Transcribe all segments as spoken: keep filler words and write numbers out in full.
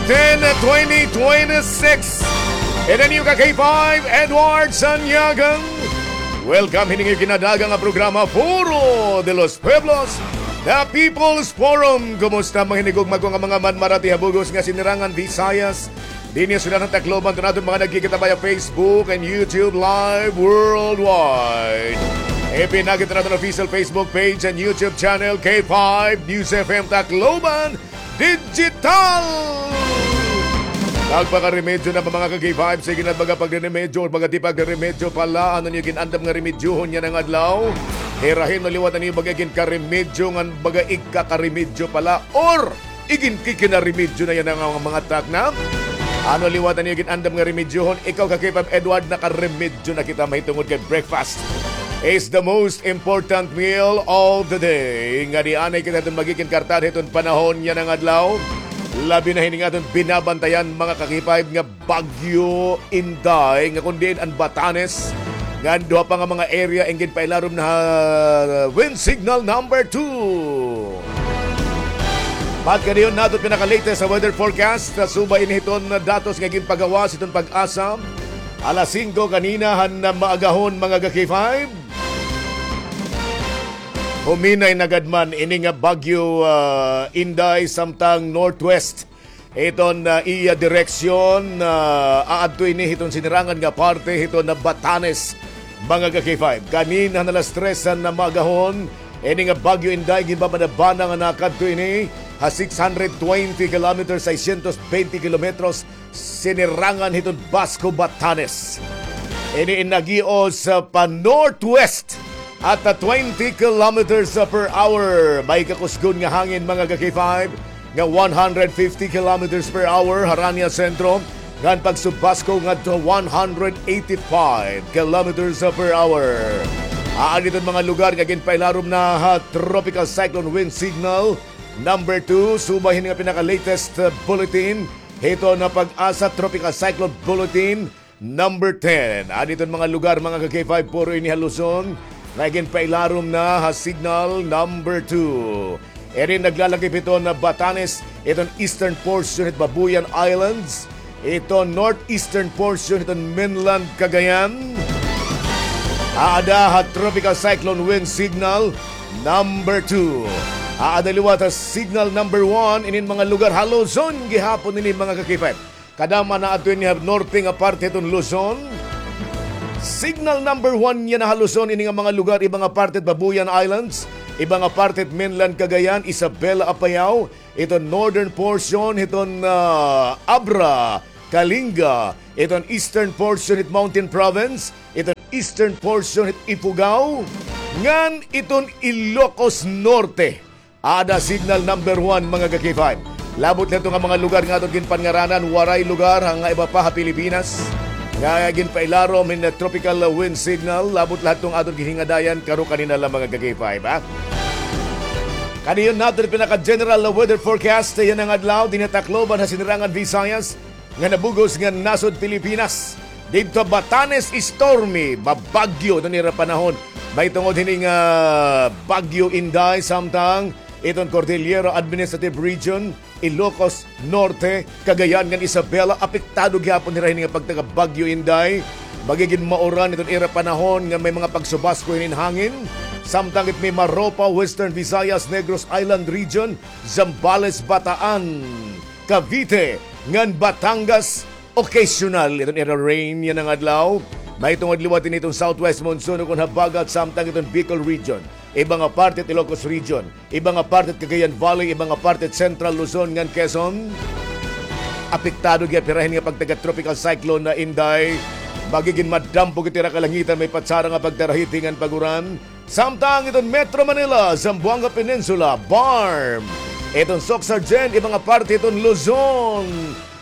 ten, twenty twenty-six. And then you ka K five, Edward Sanyagang. Welcome hini nga kinadagan nga programa, Foro de los Pueblos, The People's Forum. Kumusta, mga hinigugma ko nga mga manmarati ha bug-os nga sinirangan Visayas? Dinhi ha syudad han Tacloban, to naton mga nagkikita via Facebook and YouTube live worldwide. Ipinakita naton official Facebook page and YouTube channel, K five News F M Tacloban Digital. Nagpakaremedyo na ba, mga ka-K five? Sige na, baga pagre-remedyo or baga di pagre-remedyo pala. Ano niyo gin-andam nga remedyohon yana nga adlaw? Hirahin o liwat niyo baga gin-karemedyo ngan baga igkakaremedyo pala, or iginkikinaremedyo na yana nga mga, mga takna? Ano liwat niyo gin-andam nga remedyohon? Ikaw, ka-K five Edward, nakaremedyo na kita mahitungod kay breakfast is the most important meal of the day. Ngadi anay kita hiton magigin kartad hiton panahon yana nga adlaw. Labi na hini nga aton binabantayan, mga ka-K five, nga Bagyo Inday, nga kon diin an Batanes, ngan duha pa nga mga area in ginpailarom na ha wind signal number two. Pagkadayon naton pinaka-latest sa weather forecast, subay ini hiton datos nga ginpagawas hiton PAGASA. Alas singko kanina han maagahon, mga ka-K five. Huminay na gad man ini nga Bagyo, ah, Inday, samtang northwest hiton, ah, iya direksyon, ah, aadto ini hiton sinirangan nga parte hiton Batanes, mga ka-K five. Kanina han alas tres han maagahon, ini nga Bagyo Inday, ginbabanabana nga nakadto ini ha six hundred twenty kilometers, seiscientos veinte kilometros, sinirangan hiton Basco, Batanes. Ini in nagios, ah, pa-northwest at, ah, twenty kilometers per hour. May kakusgon nga hangin, mga ka-K five, nga one hundred fifty kilometers per hour harani ha sentro, ngan pagsubasco ngadto one hundred eighty-five kilometers per hour. Aada hiton mga lugar nga ginpailarom na ha Tropical Cyclone Wind Signal number two, subay hini nga pinaka-latest, uh, bulletin hiton PAGASA Tropical Cyclone Bulletin number ten. Aada hiton mga lugar, mga ka-K five, puro ini ha Luzon nga ginpailarom na ha signal number two. Iri naglalakip hiton Batanes, hiton eastern portion hit Babuyan Islands, hiton northeastern portion hiton mainland Cagayan. Aada ha Tropical Cyclone Wind Signal number two. Aada liwat ha signal number one inin mga lugar ha Luzon gihapon ini, mga ka-K five. Kadam-an aadto ini ha norte nga parte hiton Luzon. Signal number one yana ha Luzon, ini nga mga lugar, iba nga parte hit Babuyan Islands, iba nga parte hit mainland Cagayan, Isabela, Apayao, hiton northern portion hiton, ah, Abra, Kalinga, hiton eastern portion hit Mountain Province, hiton eastern portion hit Ifugao, ngan hiton Ilocos Norte. Aada signal number one, mga ka-K five. Labot la hito nga mga lugar nga aton ginpanngaranan, waray lugar nga iba pa ha Pilipinas nga ginpailarom hin tropical wind signal. Labot la hiton aton ginhingadayan, karo kanina la, mga ka-K five, ha? Kadayon naton pinaka-general weather forecast yana nga adlaw dinhi ha Tacloban ha Sinirangan Visayas ngan ha bug-os nga nasod Pilipinas. Didto Batanes, stormy, mabagyo iton ira panahon mahitungod hini nga Bagyo Inday, samtang iton Cordillera Administrative Region, Ilocos Norte, Cagayan ngan Isabela, apektado gihapon hira hini nga pagtaga Bagyo Inday. Magigin mauran iton ira panahon nga may mga pagsubasko hinin hangin. Samtang it Mimaropa, Western Visayas, Negros Island Region, Zambales, Bataan, Cavite, ngan Batangas, occasional iton ira rain yana nga adlaw. Mahitungod liwat ini hiton southwest monsoon ukon habagat, samtang iton Bicol Region, iba nga parte hit Ilocos Region, iba nga parte hit Cagayan Valley, iba nga parte hit Central Luzon ngan Quezon. Apektado gihap hira hini nga pagtaga Tropical Cyclone Inday. Magigin madampo gihap it ira kalangitan, may patsara nga pagtarahiti ngan pag-uran. Samtang iton Metro Manila, Zamboanga Peninsula, BARMM, iton Soccsksargen, iba nga parte hiton Luzon,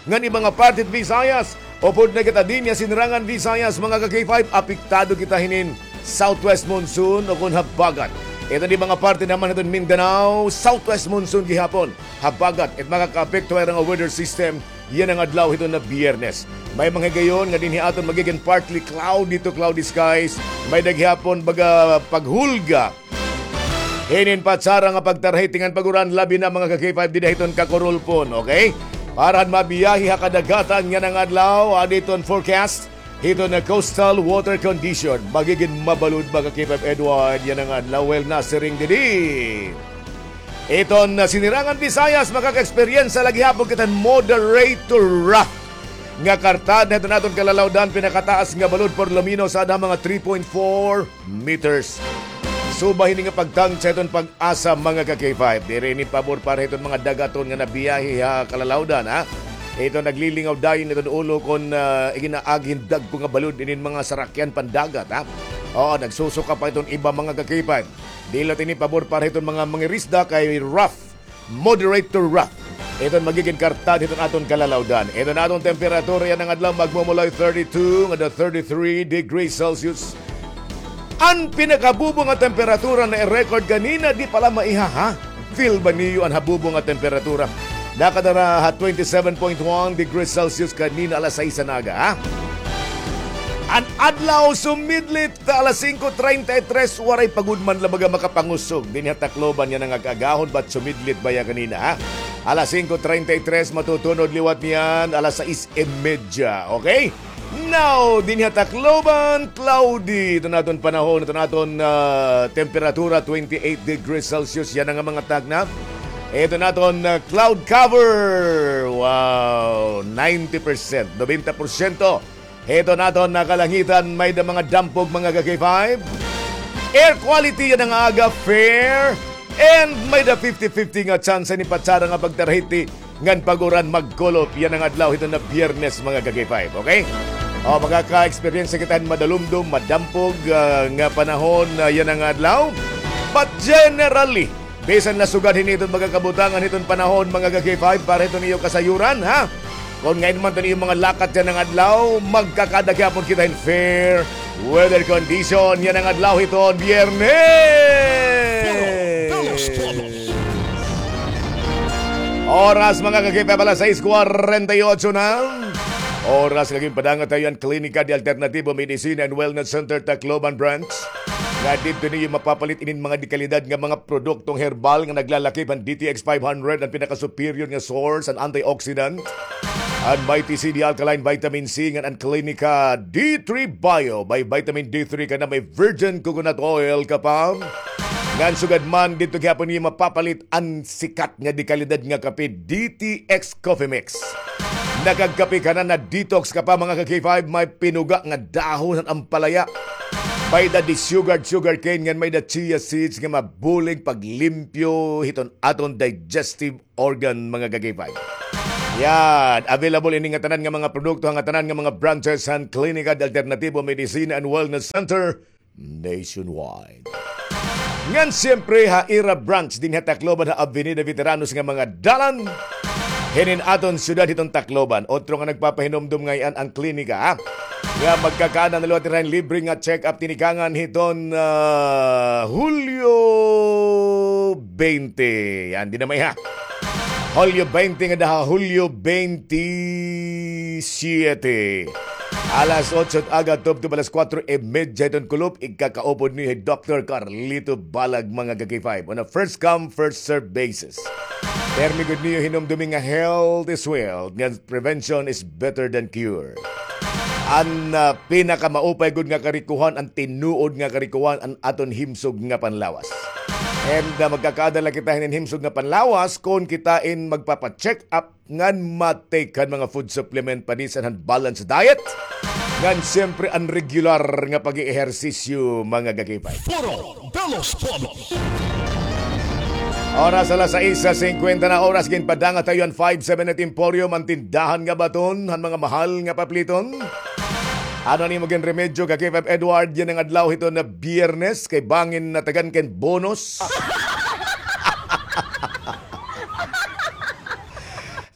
ngan iba nga parte hit Visayas. Upod na kita dinhi ha Sinirangan Visayas, mga ka-K five, apektado kita hinin southwest monsoon ukon habagat. Iton iba nga parte naman hiton Mindanao, southwest monsoon gihapon. Habagat it makakaapekto ha ira nga weather system yana nga adlaw hiton Biyernes. May mga higayon nga dinhi aton magigin partly cloudy to cloudy skies. May-ada gihapon baga paghulga hinin patsara nga pagtarahiti ngan pag-uran, labi na, mga ka-K five, dida hiton Cacorolpon, okay? Para han mabiyahe ha kadagatan yana nga adlaw, adi iton forecast hiton coastal water condition. Magigin mabalod ba ka K five Edward yana nga adlaw? Well, nasiring didi. Iton, ah, Sinirangan Visayas, makaka-eksperyensya la gihapon kita hin moderate to rough nga kartad hiton aton kalalawdan, pinakataas nga balod por lo menos ada mga three point four meters. Suba hini nga pagtangtsa hiton PAGASA, mga ka K five. Diri ini pabor para hiton mga dagaton nga nabiyahe ha kalalawdan, ha. Ito naglilingaw dayon iton ulo kon, ah, iginaagi hin dagko nga balod inin mga sarakyan pandagat, ha. Oo, nagsusuka pa iton iba, mga ka K five. Diri la ini pabor para hiton mga mangirisda kay rough, moderate to rough iton magigin kartad hiton aton kalalawdan. Iton aton temperatura yana nga adlaw magmumulay thirty-two ngada thirty-three degrees Celsius. An pinakabubo nga temperatura na i-record kanina, di pa la maiha, ha? Feel ba niyo an habubo nga temperatura? Nakadara ha twenty-seven point one degrees Celsius kanina alas sais han aga, ha? An adlaw sumidlit ta alas singko treinta y tres, waray pa gud man la baga makapangusog dinhi ha Tacloban yana nga kaagahon, but sumidlit baya kanina, ha? Alas singko treinta y tres, matutunod liwat niyan alas sais y media, okay? Now, dinhi ha Tacloban, cloudy iton aton panahon, iton aton, ah, temperatura, twenty-eight degrees Celsius yana nga mga tagna. Iton aton, ah, cloud cover, wow, ninety percent, nobenta porsyento. Hiton aton kalangitan, may-ada mga dampog, mga ka K five. Air quality yana nga aga, fair. And may-ada fifty fifty nga tsansa ni patsada nga pagtarahiti ngan pag-uran, magkulop yana nga adlaw hiton nga Biyernes, mga ka K five, okay? O, makaka-eksperyensya kita hin madalumdom, madampog, ah, nga panahon, ah, yana nga adlaw. But generally, bisan la sugad hini iton mga kabutangan hiton panahon, mga ka K five, para hiton iyo kasayuran, ha? Kon ngain man iton iyo mga lakat yana nga adlaw, magkakaada gihapon kita hin fair weather condition yana nga adlaw hiton Biyernes. Oras, mga ka K five, alas sais kwarenta y otso na. Oras nga ginpadanga ta iyo an Klinika de Alternativo Medicina and Wellness Center, Tacloban Branch, nga didto niyo mapapalit inin mga dekalidad nga mga produktong herbal nga naglalakip han D T X five hundred, an pinaka-superior nga source han antioxidant, an Mighty C D Alkaline Vitamin C, ngan an Klinika D three Bio, may vitamin D three ka na, may virgin coconut oil ka pa. Ngan sugad man, didto gihapon niyo mapapalit an sikat nga dekalidad nga kape, D T X Coffee Mix. Nakagkape ka na, na-detox ka pa, mga ka K five, may pinuga nga dahon han ampalaya. May-ada disugared sugarcane, ngan may-ada chia seeds nga mabulig paglimpyo hiton aton digestive organ, mga ka K five. Yan, available ini nga tanan nga mga produkto ha ngatanan nga mga branches han Klinika de Alternativo Medicina and Wellness Center nationwide. Ngan siyempre ha ira branch dinhi ha Tacloban ha Avenida Veteranos nga mga dalan hinin aton syudad hiton Tacloban. Otro nga nagpapahinumdom ngay-an an klinika, ha, nga magkakaada na liwat hira hin libre nga check-up tinikangan hiton, ah, Hulyo twenty. Yan, diri na maiha. Hulyo twenty ngada ha Hulyo twenty-siete. Alas otso han aga tubtob alas kuwatro y medya hiton kulop, igkakaupod niyo hi Doktor Carlito Balag, mga ka K five, on a first come, first serve basis. Pirmi gud niyo hinumdumi nga health is wealth, nga prevention is better than cure. An, ah, pinakamaupay gud nga karikohan, an tinuod nga karikohan, an aton himsog nga panlawas. And, ah, magkakaada la kita hinin himsog nga panlawas kon kita in magpapa-check up ngan ma-take han mga food supplement, padisan han balanced diet, ngan siyempre an regular nga pag-eehersisyo, mga ka K five. Foro de los Pueblos. Oras alas sais singkwenta na oras, ginpadanga ta iyo an five seven eight Emporium, an tindahan nga baton han mga mahal nga papliton. Ano an imo ginremedyo, ka K five Edward, yana nga adlaw hiton nga Biyernes, kay bangin natagan ka hin bonus?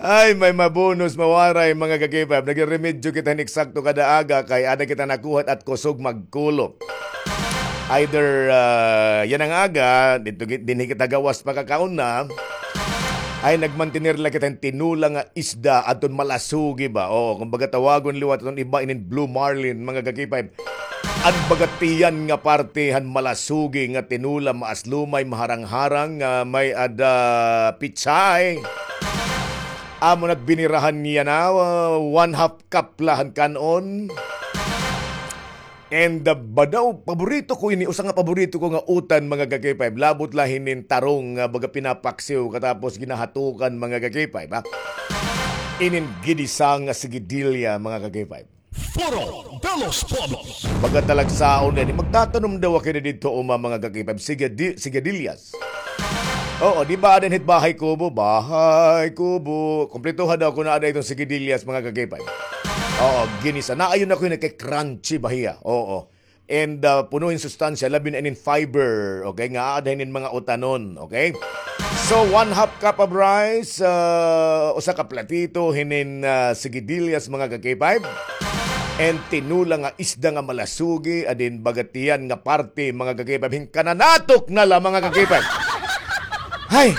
Ay, may mabonus, mawaray, mga ka K five. Nagreremedyo kita hin eksakto kada aga kay ada kita nakuha at kusog magkulop. Either, ah, yana nga aga, didto gi-, dinhi kita gawas pakakaon na, ay nagmantener la kita hin tinola nga isda, adton malasugi ba? Oo, kumbaga tawagon liwat iton iba inin blue marlin, mga ka K five. An baga tiyan nga parte han malasugi nga tinola, maaslumay, maharang-harang, nga may-ada pechay. Amo na, binirahan niya na, uh, one half cup la han kan-on. And, uh, badaw, paborito ko ini, usa nga paborito ko nga utan, mga ka-K five. Labot la hinin tarong nga baga pinapaksiw katapos ginahatukan, mga ka-K five, ha? Inin ginisa nga sigidilya, mga ka-K five. Foro de los Pueblos. Baga talagsaon din. Magtatanom daw ako na dito, uma, mga ka-K five. Sigidi-, sigidilya. Oo, di ba, aada hit Bahay Kubo? Bahay Kubo. Kumpletuha daw ako na aada iton sigidilya, mga ka-K five. Oo, ginisa. Naayon ako yun, kay crunchy ba hiya? Oo. And, uh, puno hin sustansya, labi na inin fiber, okay? Nga aada hinin mga utanon, okay? So, one half cup of rice, uh, usa ka platito hinin, uh, sigidilya, mga ka-K five. And tinola nga isda nga malasugi, adin baga tiyan nga parte, mga ka-K five. Hin kananatok na la, mga ka-K five. Hay!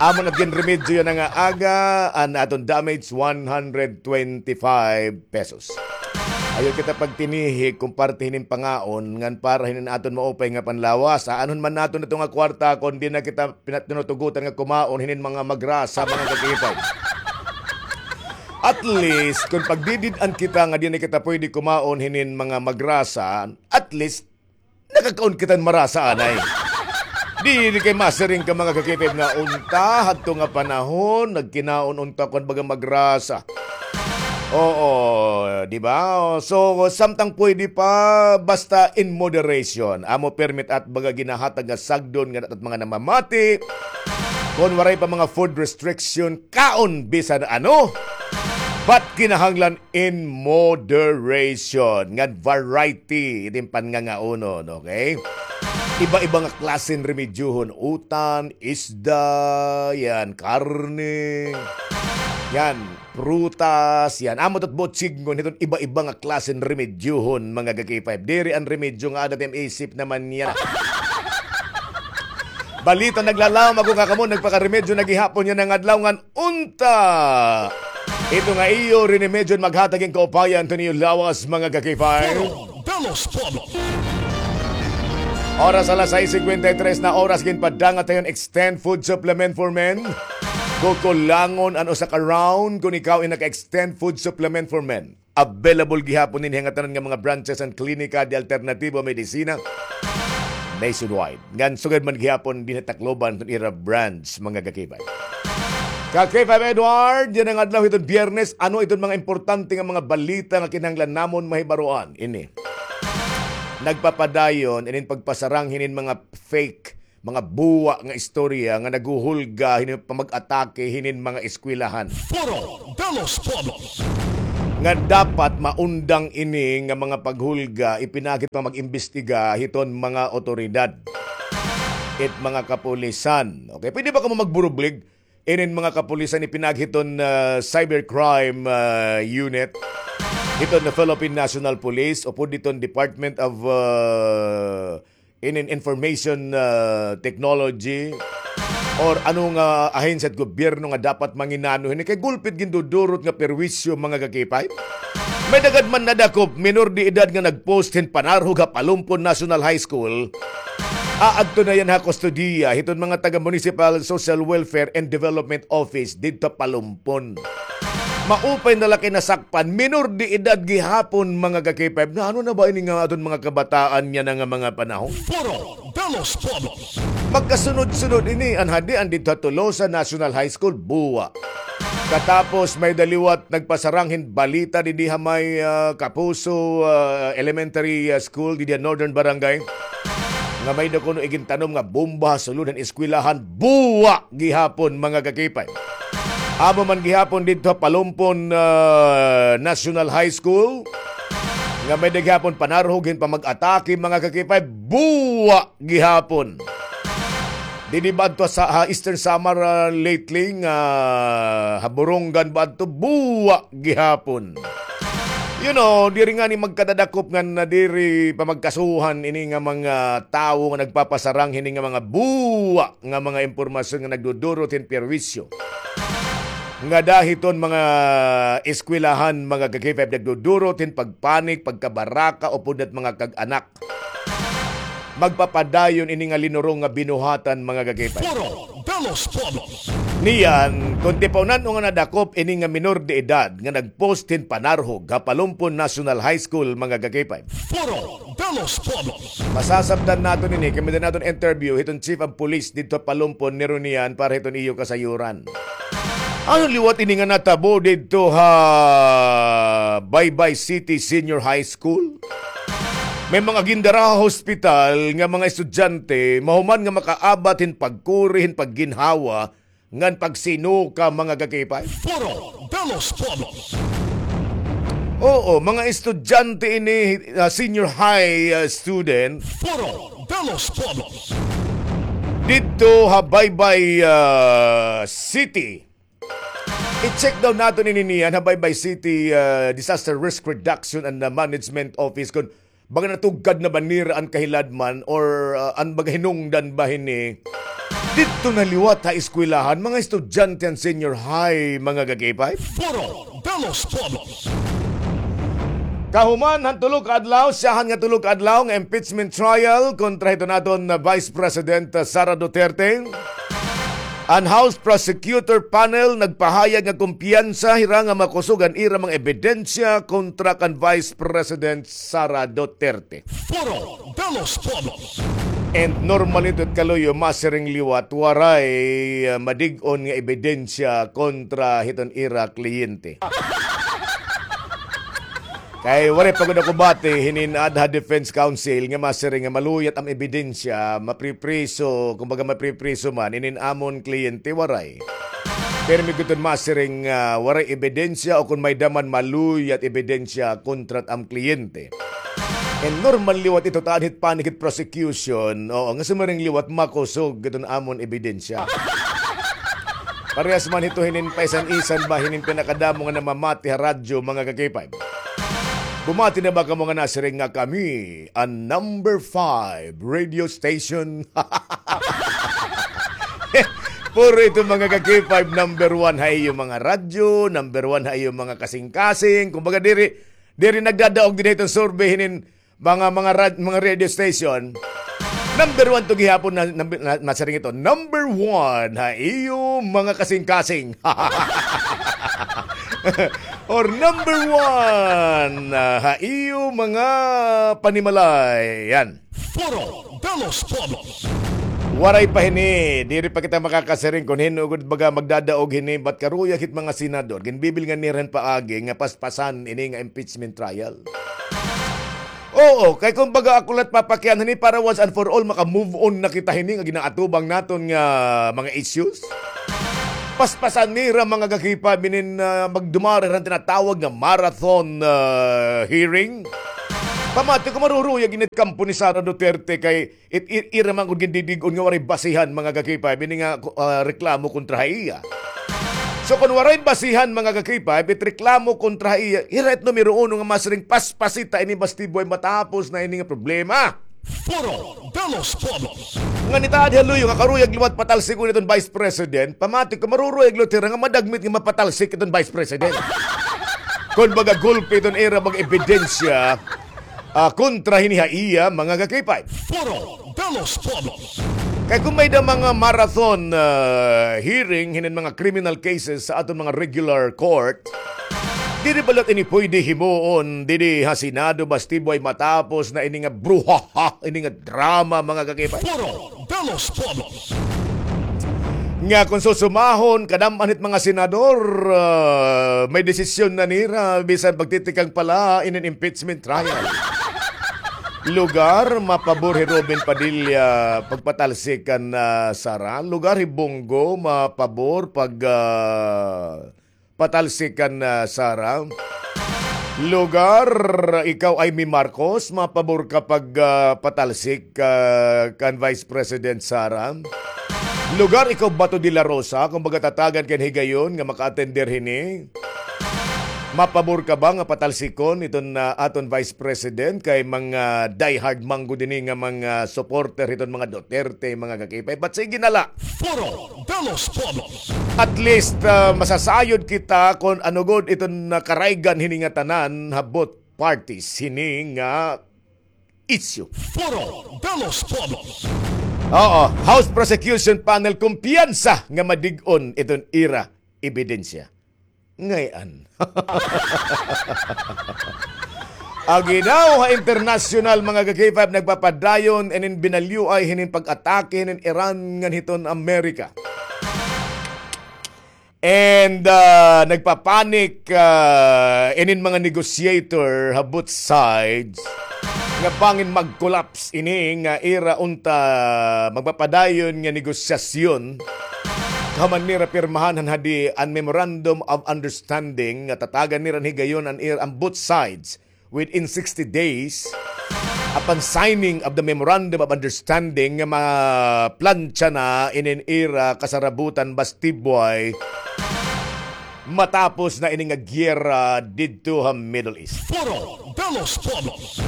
Amo na ginremedyo yana nga aga, an aton damage, one hundred twenty-five pesos. Ayaw kita pagtinihig kon parte hinin pangaon, ngan para hinin aton maupay nga panlawas. Aanhon man naton ito nga kwarta kon di na kita pina-, tinutugutan nga kumaon hinin mga magrasa, mga ka-K five. At least, kon pagdidid-an kita nga di na kita pwede kumaon hinin mga magrasa, at least, nakakaon kita hin marasa anay. Diri kay masiring ka, mga ka-K five, nga unta, hadto nga panahon, nagkinaon unta kon baga magrasa. Oo, di ba? So, samtang pwede pa, basta in moderation. Amo permi it baga ginahatag nga sagdon nga aton mga namamati. Kon waray pa mga food restriction, kaon bisan ano. But kinahanglan in moderation, ngan variety iton panngangaonon, okay? Iba-iba nga klase hin remedyohon, utan, isda, yan, karne, yan, prutas, yan. Amo ito it butsignon hiton iba-iba nga klase hin remedyohon, mga ka-K five. Diri an remedyo nga aada it im isip naman yana. Balita naglalam, ako nga kamo nagpakaremedyo na gihapon yana nga adlaw ngan unta. Ito nga iyo rinimedyo maghatag hin kaupayan hiton iyo lawas, mga ka-K five. Foro de los Pueblos. Oras alas sais cincuenta y tres na oras, ginpadangat hiton Extend Food Supplement for Men. Kukulangon an usa ka round kon ikaw in naka-Extend Food Supplement for Men. Available gihapon ini ha ngatanan nga mga branches han Klinika de Alternativo Medicina nationwide. Ngan sugad man gihapon dinhi ha Tacloban, iton ira branch, mga ka-K five. Ka-K five Edward, yana nga adlaw hiton Biyernes, ano iton mga importante nga mga balita nga kinahanglan namon mahibaroan? Ini. Nagpapadayon inin pagpasarang hinin mga fake, mga buwa nga istorya nga naghuhulga hinin pamag-atake hinin mga eskwelahan. Foro de los Pueblos. Nga dapat maundang ini nga mga paghulga, ipinakit pa mag-imbestiga hiton mga otoridad, it mga kapulisan. Okay, pwede ba kamo magburublig? Inin mga kapulisan ipinakit hiton, ah, cybercrime, ah, unit hiton Philippine National Police o pud hiton Department of, ah, inin information, ah, technology or ano nga ahensya hit gobyerno nga dapat manginano hini kay gulpi it gindudurot nga perwisyo, mga ka-K five. May-ada gad man nadakop, minor de edad nga nag-post hin panarhog ha Palumpon National High School. Aadto na yana ha kustodiya hiton mga taga Municipal Social Welfare and Development Office didto ha Palumpon. Maupay na la kay nasakpan, minor de edad gihapon, mga ka-K five. Naano na ba ini nga aton mga kabataan yana nga mga panahon? Foro de los Pueblos. Magkasunod-sunod ini, an hadi, an didto ha Tolosa National High School, buwa. Katapos may-ada liwat nagpasarang hin balita didi ha may, ah, Kapuso, ah, Elementary, ah, School didi ha Northern Barangay nga may-ada kuno igintanom nga bomba ha sulod han eskwelahan, buwa gihapon, mga ka-K five. Amo man gihapon didto ha Palumpon, ah, National High School nga may-ada gihapon panarhog hin pamag-atake, mga ka-K five, buwa gihapon. Didi ba adto sa, ha Eastern Samar, ah, lately nga ha Borongan ba adto, buwa gihapon. You know, diri ngani magkadadakop nga nadiri pa magkasuhan ini nga mga tawo nga nagpapasarang hini nga mga buwa nga mga impormasyon nga nagdudurot hin perwisyo. Ngada hiton mga eskwelahan, mga ka-K five, nagdudurot hin pagpanik, pagkabaraka, upod hit mga kag-anak. magpapadayon ini nga linurong nga binuhatan, mga ka-K five. Foro de los Pueblos. Niyan, kon tipawnan-o nga nadakop ini nga minor de edad nga nagpost hin panarhog ha Palumpon National High School, mga ka-K five. Foro de los Pueblos. Masasabtan naton ini, kay may-ada naton interview hiton chief of police didto ha Palumpon, ni Ronian, para hiton iyo kasayuran. Ano liwat ini nga natabo didto ha Baybay City Senior High School? May mga gindara ha hospital nga mga estudyante, mahuman nga makaabat hin pagkuri, hin pagginhawa, ngan pagsinuka, mga ka-K five. Foro de los Pueblos. Oo, mga estudyante ini, ah, senior high, ah, student. Foro de los Pueblos. Didto ha Baybay, ah, City. I-check daw naton ini niyan ha Baybay City, ah, Disaster Risk Reduction and, ah, Management Office kon baga natugkad na ba nira an kahiladman or, ah, an baga hinungdan ba hini. Didto na liwat ha eskwelahan, mga estudyante han senior high, mga ka-K five. Foro de los Pueblos. Kahuman han tulo ka adlaw, syahan nga tulo ka adlaw nga impeachment trial kontra hiton aton, ah, Vice President, ah, Sara Duterte. An House Prosecutor Panel nagpahayag nga kumpiyansa hira nga makusog an ira mga ebidensya kontra kan Vice President Sara Duterte. Foro de los Pueblos. And normal ito, kaluyo, masiring liwat, waray, ah, madig-on nga ebidensya kontra hiton ira kliyente. Kay waray pa gud ako bati hinin aada ha defense counsel nga masiring nga maluyat am ebidensya, mapripriso, kumbaga mapripriso man, inin amon kliyente waray. Pirmi gud iton masiring nga waray ebidensya o kon may-ada man maluyat ebidensya kontra it am kliyente. And normal liwat ito, taad hit panic hit prosecution, oo, nga sumiring liwat makusog iton amon ebidensya. Parehas man hito hinin paisan-isan ba hinin pinakadamo nga namamati ha radyo, mga ka-K five. Bumati na ba kamo nga nasiring nga kami an number five radio station? Puro ito, mga ka-K five, number one ha iyo mga radyo, number one ha iyo mga kasing-kasing. Kumbaga, diri, diri nagdadaog dinhi iton survey hinin mga, mga rad-, mga radio station, number one to gihapon na, na, na, nasiring ito. Number one ha iyo mga kasing-kasing. Or number one, ah, ha iyo mga panimalay. Yan. Foro de los Pueblos. Waray pa hini, diri pa kita makakasiring kon hin-o gud baga magdadaog hini, but karuyag hit mga senador, ginbibilngan nira hin paagi nga paspasan ini nga impeachment trial. Oo, kay kumbaga ako la it papakian hini para once and for all maka-move on na kita hini nga ginaatubang naton nga mga issues. Paspasan nira, mga ka-K five, inin, ah, magdumara hira han tinatawag nga marathon, ah, hearing. Pamati ko maruruyag ini it kampo ni Sara Duterte kay it, it, ira man gud gindidig-on nga waray basihan, mga ka-K five, ini nga, ah, reklamo kontra ha iya. So, kon waray basihan, mga ka-K five, it reklamo kontra ha iya, ira it numero uno nga masiring paspasita ini bastibo ay matapos na ini nga problema. Foro de los Pueblos. Ngan itaad ha luyo nga karuyag liwat patalsikon iton Vice President, pamati ko maruruyag liwat hira nga madagmit nga mapatalsik iton Vice President. Kon baga gulpi iton ira mga ebidensya, ah, kontra hini ha iya, mga ka-K five. Foro de los Pueblos. Kay kon may-ada mga marathon, ah, hearing hinin mga criminal cases sa aton mga regular court, diri ba liwat ini pwede himuon didi ha Senado bastibo ay matapos na ini nga bruhaha, ini nga drama, mga ka-K five? Foro de los Pueblos. Nga kon susumahon, kadam-an hit mga senador, ah, may desisyon na nira, bisan pagtitikang pa la inin impeachment trial. Lugar, mapabor hi Robin Padilla pagpatalsik kan, ah, Sara. Lugar hi Bong Go, mapabor pag, ah, patalsik kan, ah, Sara. Lugar, ikaw Imee Marcos, mapabor ka pag, ah, patalsik, ah, kan Vice President Sara. Lugar, ikaw Bato de la Rosa, kumbaga tatagan kan higayon nga maka-attender hini. Mapabor ka ba nga patalsikon iton, ah, aton Vice President kay mga diehard man gud ini nga mga supporter hiton mga Duterte, mga ka-K five? But sige na la. Foro de los Pueblos. At least, ah, masasayod kita kon ano gud iton nakaraygan hini nga tanan ha both parties hini nga issue. Foro de los Pueblos. Oo, House Prosecution Panel kumpiyansa nga madig-on iton ira ebidensya. Ngay-an. Aginaw ha internasyonal, mga ka-K five, nagpapadayon inin binalyuay hinin pag-atake hinin Iran ngan hiton Amerika. And, ah, nagpapanik, ah, inin mga negotiator ha both sides nga bangin mag-collapse ini nga ira unta magpapadayon nga negosyasyon. Kahuman nira pirmahan han hadi an Memorandum of Understanding nga tatagan nira higayon an ir-, an both sides within sixty days upon signing of the Memorandum of Understanding nga maplantsa na inin ira kasarabutan bastibway matapos na ini nga giyera didto ha Middle East. Foro de los Pueblos.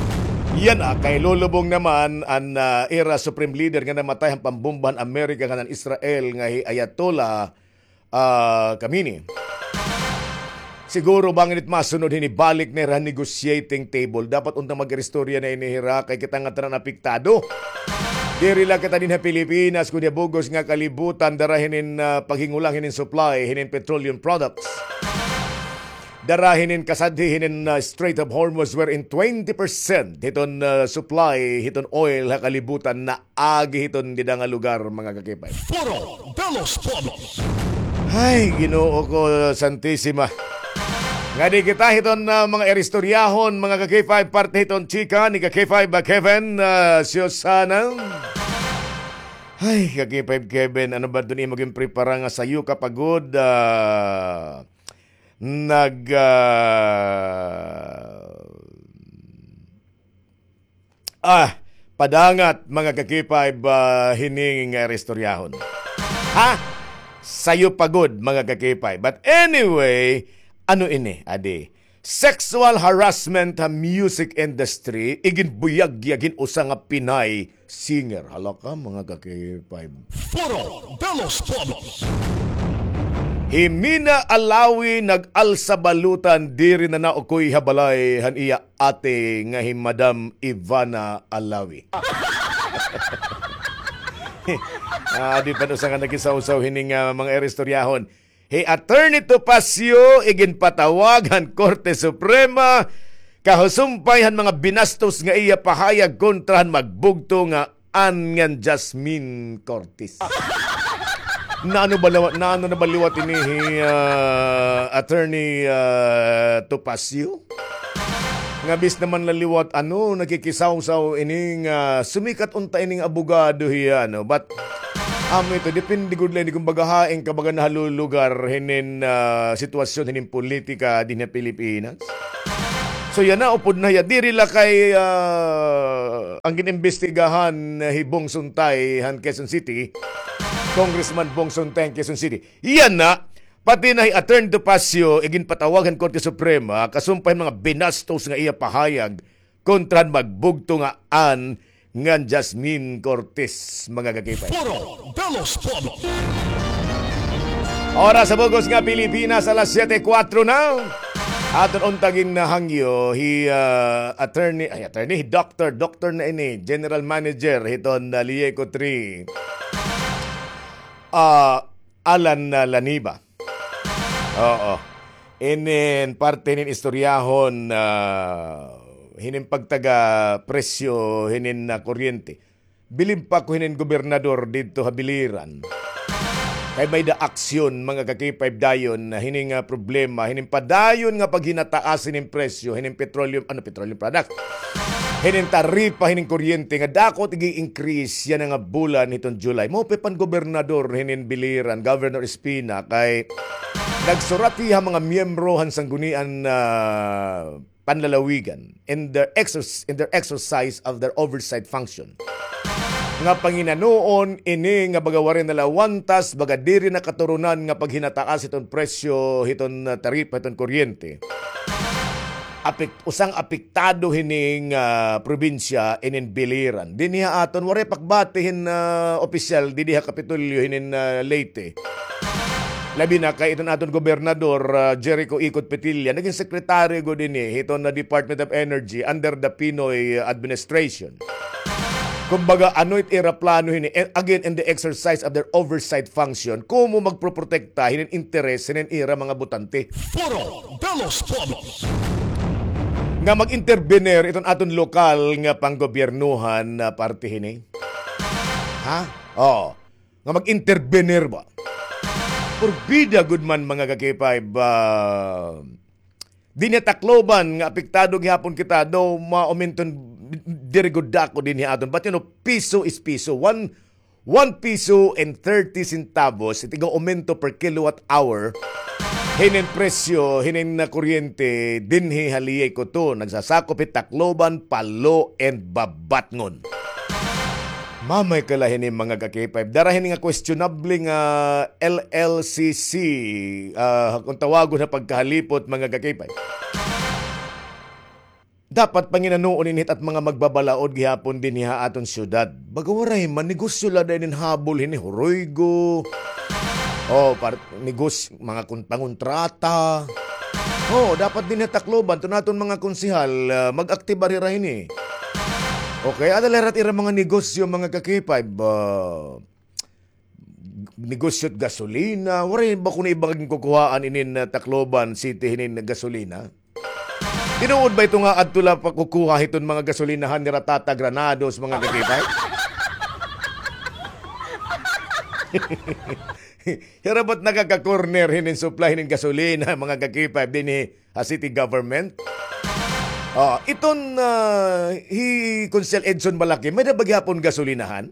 Yana, kay lulubong naman an, ah, ira supreme leader nga namatay han pambomba han Amerika ngan han Israel nga hi Ayatollah, ah, Khamenei. Siguro bangin it masunod hini, balik na hira ha negotiating table. Dapat unta mag-iristorya na ini hira kay kita ngatanan apektado. Diri la kita dinhi ha Pilipinas, kundi ha bug-os nga kalibutan, dara hinin, ah, paghingulang hinin supply hinin petroleum products. Dara hinin kasadhi hinin, ah, Strait of Hormuz, wherein twenty percent hiton, ah, supply hiton oil ha kalibutan naagi hiton dida nga lugar, mga ka-K five. Foro de los Pueblos. Ay, Ginoo ko, Santisima. Ngadi kita hiton, ah, mga iristoryahon, mga ka-K five, parte hiton chika ni ka-K five ba Kevin, ah, Susana. Ay, ka-K five Kevin, ano ba dun imo ginprepara nga sayo ka pa gud, ah, nag, ah, ah, padangat, mga ka-K five, ah, hini nga istoryahon. Ha? Sayo pa gud, mga ka-K five. But anyway, ano ini, adi? Sexual harassment ha music industry, iginbuyagyag hin usa nga Pinay singer. Hala ka, mga ka-K five. Foro de los Pueblos. Hi Mina Alawi nag-alsa balutan diri na naukoy ha balay han iya ate nga hi Madam Ivana Alawi. Ah, di pa usa nga nakisawsaw hini nga mga iristoryahon. Hi Attorney Topacio iginpatawag han Korte Suprema kahusumpay han mga binastos nga iya pahayag kontra han magbugto nga Ann ngan Jasmine Cortez. Nano ba liwat, nano na ba liwat ini hi, ah, Attorney, ah, Topacio? Nga bis naman la liwat, ano, nakikisawsaw ini nga sumikat unta ini nga abogado hiya, no? But, amo ito, depende gud la ini kung baga hain ka baga nahalulugar hinin, ah, sitwasyon hinin politika dinhi ha Pilipinas. So, yana, upod na hiya. Diri la kay, ah, an gin-imbestigahan, ah, hi Bong Suntay han Quezon City, Congressman Bong Suntay han Quezon City. Yana, pati na hi Attorney Topacio, iginpatawag han Korte Suprema, kasumpay han mga binastos nga iya pahayag kontra han magbugto nga Ann ngan Jasmine Cortez, mga ka-K five. Foro de los Pueblos. Oras sa bug-os nga Pilipinas, alas siyete kuwatro na. Aton unta ginhangyo hi, ah, attorney, ay, attorney, doctor, doctor na ini, general manager hiton, ah, Lieco three. Ah, Alan, ah, Laniba. Oo. Inin parte hinin istoryahon, ah, hinin pagtaga presyo hinin, ah, kuryente. Bilin pa ko hinin gobernador didto ha Biliran. Kay may-ada aksyon, mga ka-K five, dayon na hinin nga problema, hinin padayon nga paghinataas hinin presyo hinin petroleum, ano, petroleum product. Hinin taripa hinin kuryente nga dako it ig-increase yana nga bulan hiton July. Maupay pa an gobernador hinin Biliran, Governor Espina, kay nagsurat hiya ha mga miyembro han Sangguniang, ah, Panlalawigan in their exerc-, in their exercise of their oversight function. Nga panginanuon ini nga baga waray nalawantas, baga diri nakaturunan nga paghinataas hiton presyo hiton, ah, taripa hiton kuryente. Apek-, usang apektado hini nga probinsya inin Biliran. Dinhi ha aton, waray pakbati hin, ah, opisyal didi ha Kapitolyo hinin, ah, Leyte. Labi na kay iton aton gobernador, ah, Jericho Ikot Petilla, naging sekretaryo gud ini hiton na Department of Energy under the Pinoy administration. Kumbaga, ano it ira plano hini, eh, again, in the exercise of their oversight function, kumo magproprotekta hinin interes hinin ira mga botante. Foro de los Pueblos. Nga mag-intervenir iton aton lokal nga panggobyernuhan na parte hini. Ha? Oh. Nga mag-intervenir ba? Porbida gud man, mga ka-K five, ah, dinhi ha Tacloban nga apektado gihapon kita, daw maumenton diri gud dako dinhi aton. But, you know, piso is piso. One, one piso and thirty centavos, it iga aumento per kilowatt hour hinin presyo hinin na kuryente dinhi ha Leyte, Cotabato. Nagsasakop hi Tacloban, Palo, and Babatngon. Mamay kala hini, mga ka-K five. Dara hini nga questionable nga L L C C, ah, kung tawagon ha pagkahalipot, mga ka-K five. Dapat panginanoon ini hit mga magbabalaod gihapon dinhi ha aton syudad. Baga waray man, negosyo la dayon inin habol hini, huruygo. Oh, par-, negos-, mga kun-, pangontrata. Oh, dapat dinhi ha Tacloban, iton aton mga konsehal, ah, mag-aktibar hira hini. Okay, ada la hira it ira mga negosyo, mga ka-K five, ah, negosyo it gasolina. Waray ba kuno iba nga ginkukuhaan inin, ah, Tacloban City hinin gasolina? Tinuod ba ito nga adto la pa kukuha hiton mga gasolinahan nira Tata Granados, mga ka-K five? Hira ba it nagaka-corner hinin supply hinin gasolina, mga ka-K five, dinhi ha city government? Oh, iton, ah, hi Konsehal Edson Balaki, may-ada ba gihapon gasolinahan?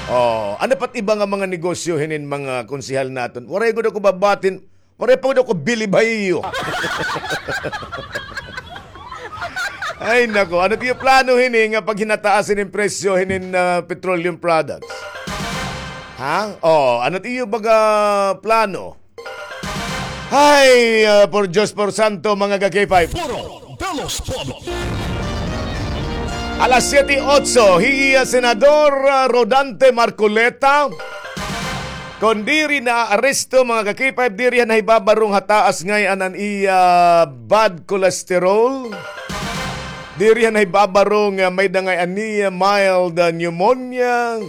Oh, ano pa it iba nga mga negosyo hinin mga konsehal naton? Waray gud ako babatin, waray pa gud ako bilib ha iyo. Ay, nako. Ano it iyo plano hini nga paghinataas hinin presyo hinin, ah, petroleum products? Ha? Oh, ano it iyo baga plano? Hay, ah, por Diyos, por santo, mga ka-K five. Foro de los Pueblos. Alas siyete otso, hi, ah, Senador, ah, Rodante Marcoleta, kon diri naaresto, mga ka-K five, diri han nahibabarong ha taas ngay-an an iya bad cholesterol. Diri han nahibabarong, ah, may-ada ngay-an niya mild, ah, pneumonia.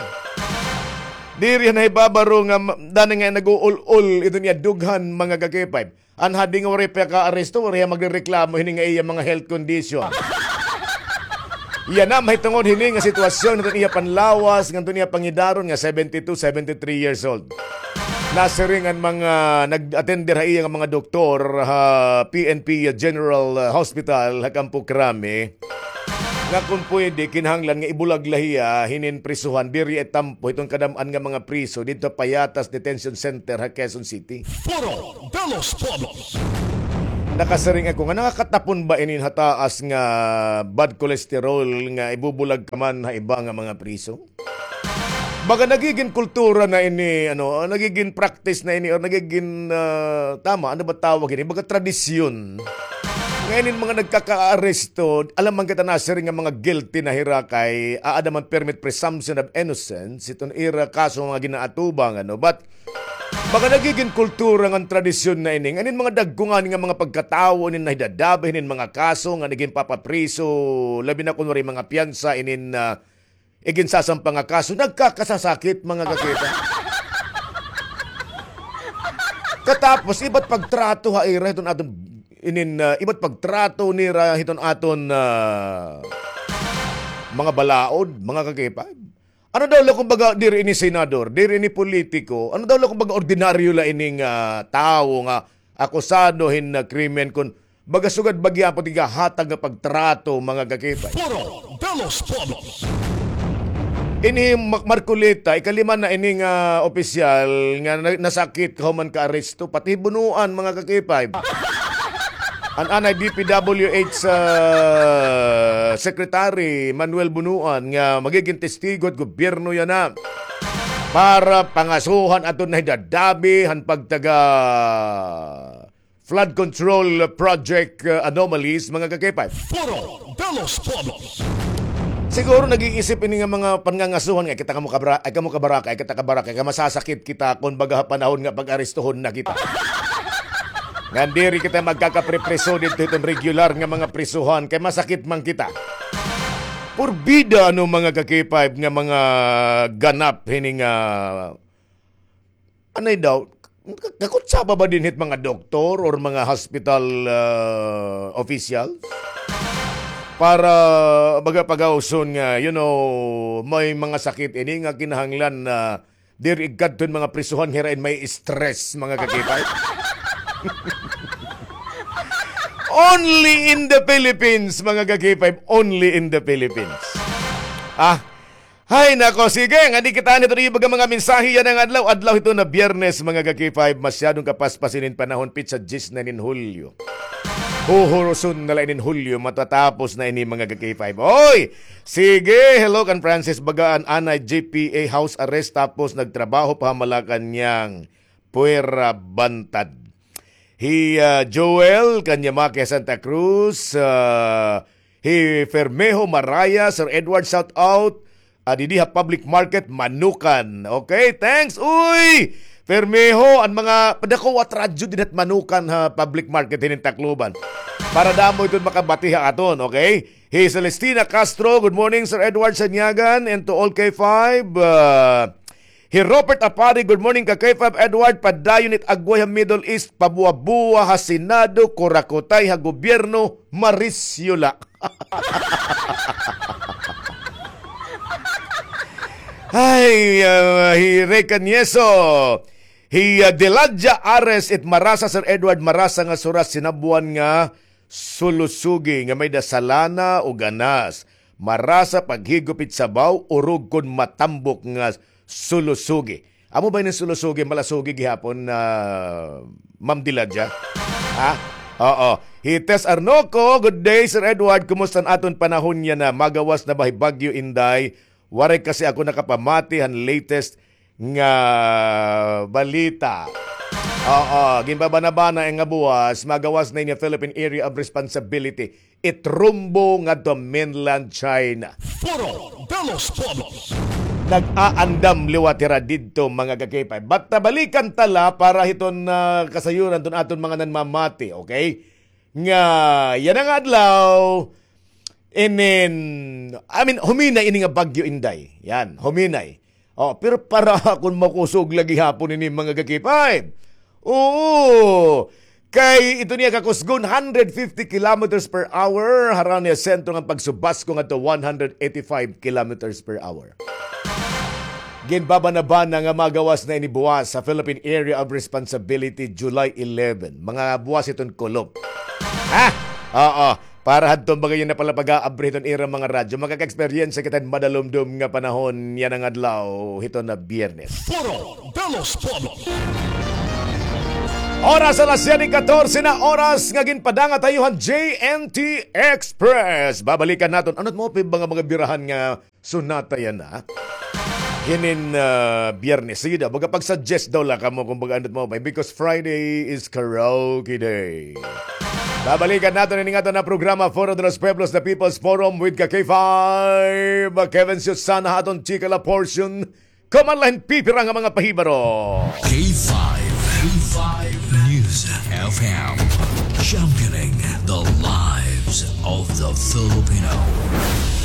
Diri han nahibabarong, ah, ma-, dani nga nag-uul-ul iton iya dughan, mga ka-K five. An hadi nga waray pa kaaresto, waray magrereklamo hini nga iya mga health condition. Yana, mahitungod hini nga sitwasyon ngadto iya panlawas, ngadto iya pangidaron nga seventy-two, seventy-three years old. Nasiring an mga nag-atender ha iya nga mga doktor ha P N P General Hospital ha Campo Crame, nga kon pwede, kinahanglan nga ibulag la hiya hinin prisuhan, diri itampo hiton kadam-an nga mga priso didto ha Payatas Detention Center ha Quezon City. Foro de los Pueblos. Nakasiring ako nga nakakatapon ba inin ha taas nga bad cholesterol nga ibubulag ka man ha iba nga mga priso? Baga nagigin kultura na ini, ano, nagigin practice na ini, or nagigin, ah, tama, ano ba tawag ini? Baga tradisyon. Nga inin mga nagkakaaresto, alam man kita nasiring nga mga guilty na hira kay aada man permit presumption of innocence, iton ira kaso nga ginaatubang, ano. But, baga nagigin kultura ngan tradisyon na ini. Nga inin mga dagko ngani nga mga pagkatawo, inin nahidadabi, inin mga kaso nga nagin papapriso, labi na kun waray mga piyansa, inin, ah, iginsasampa nga kaso, nagkakasasakit, mga ka-K five. Katapos, iba it pagtrato ha ira hiton aton inin, ah, iba it pagtrato nira hiton aton, ah, mga balaod, mga ka-K five. Ano daw la, kumbaga, diri ini senador, diri ini politiko, ano daw la, kumbaga, ordinaryo la ining, ah, tawo nga akusado hin, ah, krimen kon baga sugad ba gihapon it igahatag nga pagtrato, mga ka-K five? Foro de los Pueblos. Ini Mac Marcoleta, ikalima na ini nga opisyal nga na-, nasakit kahuman kaaresto, pati Bunuan, mga ka-K five. An anay D P W H, ah, Secretary Manuel Bunuan nga magigin testigo it gobyerno yana para pangasuhan aton nahidadabi han pagtaga flood control project, uh, anomalies, mga ka-K five. Foro de los Pueblos. Siguro nag-iisip ini nga mga pangangasuhan nga, "Ay, kita kamo kabra-, ay, kamo kabaraka, ay, kita kabaraka, kay masasakit kita kon baga ha panahon nga pag-arestuhon na kita." Ngan diri kita magkakapripriso didto hiton regular nga mga prisuhan, kay masakit man kita. Purbida, ano, mga ka-K five, nga mga ganap hini nga Anay daw, kakutsaba ba dinhi it mga doktor or mga hospital, ah, officials? Para baga pagauson nga, you know, may mga sakit ini nga kinahanglan na diri igkadto hin mga prisuhan, hira in may stress, mga ka-K five. Only in the Philippines, mga ka-K five, only in the Philippines. Ah, Hay, nako, sige, ngadi kita nito, iba nga mga mensahe yana nga adlaw, adlaw hito na Biyernes, mga ka-K five, masyadong kapaspas inin panahon, pitsa diyes na inin Hulyo. Huhuruson na la inin Hulyo, matatapos na ini, mga ka-K five. Oy! Sige, hello kan Francis Bagaan, anay J P A house arrest, tapos nagtrabaho pa ha Malacañang. Puwera bantad. Hi, ah, Joel Kanyamake, Santa Cruz, ah, hi Fermejo Maraya, Sir Edward, shout out. Ah, didi ha public market, Manukan. Okay, thanks. Uy! Fermejo, an mga padako at radyo didi ha Manukan ha public market hinin Tacloban. Para damo iton makabati ha aton, okay? Hi Celestina Castro, good morning, Sir Edward Sanyagan, and to all K five. Ah, Hi Robert Apari, good morning ka K five Edward, padayon it agway ha Middle East, pabuwa-buwa ha Senado, kurakutay ha gobyerno, marisyo la. Ay, ah, hi Rey Canieso, hi, ah, Deladia Ares, it marasa, Sir Edward, marasa nga surat, sinabuan nga sulusugi nga may-ada salana o ganas. Marasa paghigop it sabaw, urog kon matambok nga sulusugi. Amo ba ini sulusugi, malasugi gihapon, ah, Ma'am Diladia? Ha? Oo. Hi Tess Arnoco, good day, Sir Edward. Kumusta an aton panahon yana? Magawas na ba hi Bagyo Inday? Waray kasi ako nakapamati han latest nga balita. Oo, ginbabana-bana nga buwas, magawas na ini Philippine Area of Responsibility. Itrumbo ngadto mainland China. Foro de los Pueblos. Nag-aandam liwat hira didto, mga ka-K five. Basta balikan ta la para hiton, ah, kasayuran hiton aton mga nanmamati, okay? Nga yana nga adlaw, inin, I mean, huminay ini nga Bagyo Inday. Yan, huminay. Oh, pero para akon makusog la gihapon ini, mga ka-K five. Oo. Kay ito niya kakusgon, hundred fifty kilometers per hour, harani ha sentro nga pagsubasko ngadto one hundred eighty-five kilometers per hour. Ginbabana-bana nga magawas na ini buwas sa Philippine Area of Responsibility, July eleven. Mga buwas iton kulop. Ha? Oo. Para hadton mga yana pala pag-aabri hiton ira mga radyo, makaka-eksperyensya kita hin madalumdom nga panahon yana nga adlaw hiton na Biyernes. Foro de los Pueblos. Oras alas siyete katorse na, oras nga ginpadanga ha iyo han J N T Express. Babalikan naton. Ano it maupay nga mga birahan nga sonata yana hinin, ah, Biyernes? Sige daw, baga pag-suggest daw la kamo kon baga ano it maupay, because Friday is karaoke day. Babalikan naton ini nga aton nga programa, Foro de los Pueblos, The People's Forum with ka K five, Kevin Susana, ha aton chika la portion. Kahuman la hin pipira nga mga pahibaro. K five, K five News F M, championing the lives of the Filipino.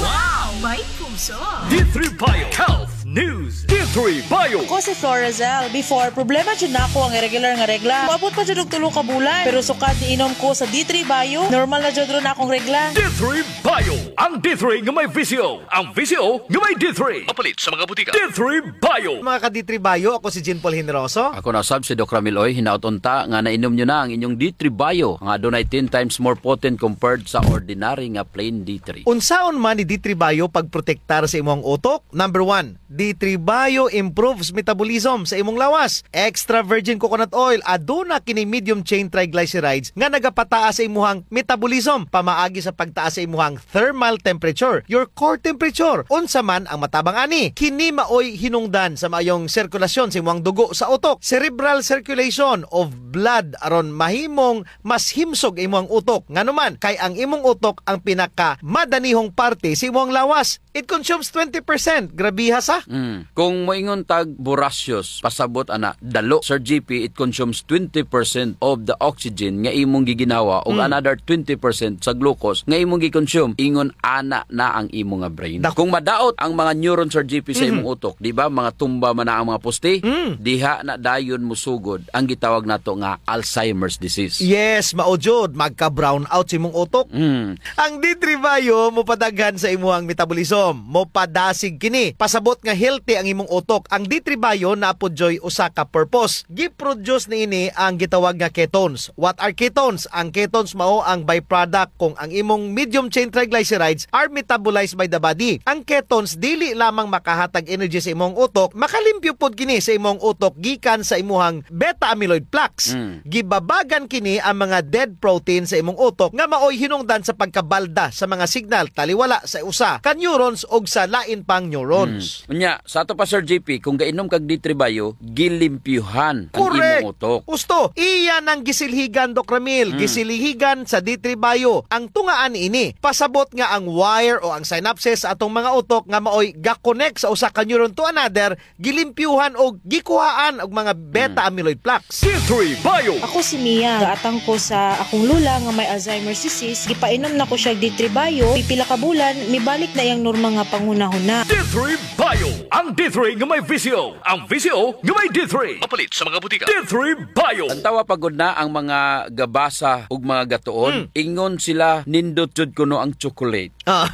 Wow! May puso! D three Bio Health News. D three Bio. Ako si Florazel. Before, problema jud nako ang irregular nga regla. Moabot pa jud og tulo ka bulan. Pero sukad niinom ko sa D three Bio, normal na jud ron akong regla. D three Bio. Ang D three nga may V C O. Ang V C O nga may D three. Mapalit sa mga butika. D three Bio. Mga ka-D three Bio, ako si Jean Paul Generoso. Ako na sab si Doc Ramil Oy. Hinaot unta nga nainom nyo na ang inyong D three Bio, nga adunay ten times more potent compared sa ordinary nga plain D three. Unsaon man ni D three Bio pagprotektar sa imong utok? Number one, D three Bio improves metabolism sa imong lawas. Extra virgin coconut oil, aduna kini medium chain triglycerides nga nagapataas sa imuhang metabolism pamaagi sa pagtaas sa imuhang thermal temperature, your core temperature. Unsa man ang matabang ani? Kini maoy hinungdan sa maayong sirkulasyon sa imuhang dugo sa utok, cerebral circulation of blood, aron mahimong mas himsog imuhang utok. Ngano man? Kay ang imong utok ang pinakamadanihong parte sa imuhang lawas. It consumes twenty percent. Grabiha sa. Mm. Kung moingon tag voracious, pasabot ana, dalo. Sir G P, it consumes twenty percent of the oxygen nga imong giginhawa ug Mm. another twenty percent sa glucose nga imong gi-consume. Ingon ana na ang imo nga brain. Dak- Kung madaot ang mga neuron, Sir G P, sa Mhm. imong utok, di ba? Mga tumba man na ang mga poste, Mm. diha na dayon mosugod ang gitawag nato nga Alzheimer's disease. Yes, mao jud, magka-brown out sa imong utok. Mm. Ang D three Bio mopadaghan sa imuhang metabolism. Mopadasig kini. Pasabot nga healthy ang imong utok. Ang D three Bio naa pod dyoy usa ka purpose. Gi-produce niini ang gitawag nga ketones. What are ketones? Ang ketones mao ang byproduct kung ang imong medium chain triglycerides are metabolized by the body. Ang ketones dili lamang makahatag energy sa imong utok, makalimpyo pod kini sa imong utok gikan sa imuhang beta amyloid plaques. Mm. Gibabagan kini ang mga dead protein sa imong utok nga maoy hinungdan sa pagkabalda sa mga signal taliwala sa usa ka neurons ug sa lain pang neurons. Mm. Unya, sa ato pa, Sir G P, kung gainom kag D three Bio, gilimpyuhan ang Correct. imong utok. Husto, iya nang gisilhigan, Doc Ramil, Mm. gisilhigan sa D three Bio ang tungaan niini. Pasabot nga ang wire o ang synapses sa atong mga utok nga maoy ga-connect sa usa ka neuron to another, gilimpyuhan o gikuhaan og mga beta Mm. amyloid plaques. D three Bio. Ako si Mia. Gaatang ko sa akong lola nga may Alzheimer's disease. Gipainom na ko siya D three Bio. Pipila ka bulan, mibalik na iyang normal nga panghunahuna. D three Bio. Ang D three nga may V C O. Ang V C O nga may D three. Mapalit sa mga butika. D three Bio. Tan-awa pa gud na ang mga gabasa ug mga gatuon. Mm. Ingon sila, nindot jud kuno ang chocolate. Ah.